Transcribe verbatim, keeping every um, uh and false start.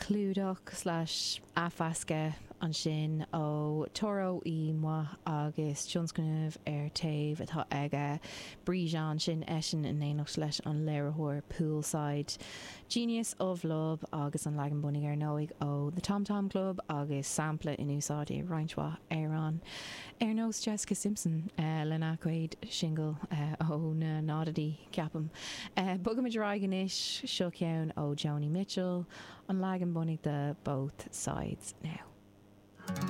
Clúdach slash athmheascadh ansin ó Toro y Moi agus tionscnamh ar taobh atá aige Brejon sin eisean in éineacht leis an léiritheoir Poolside. Genius of Love agus an leagan bunaidh ar ndóigh ó The Tom Tom Club agus sampla in úsáid i roinnt mhaith amhrán. Ar nós Jessica Simpson uh, lena cuid singil uh, ó na náidí ceapaim. Uh, Bogaimid ar aghaidh anois seo ceann ó Joni Mitchell an leagan bunaidh de Both Sides Now.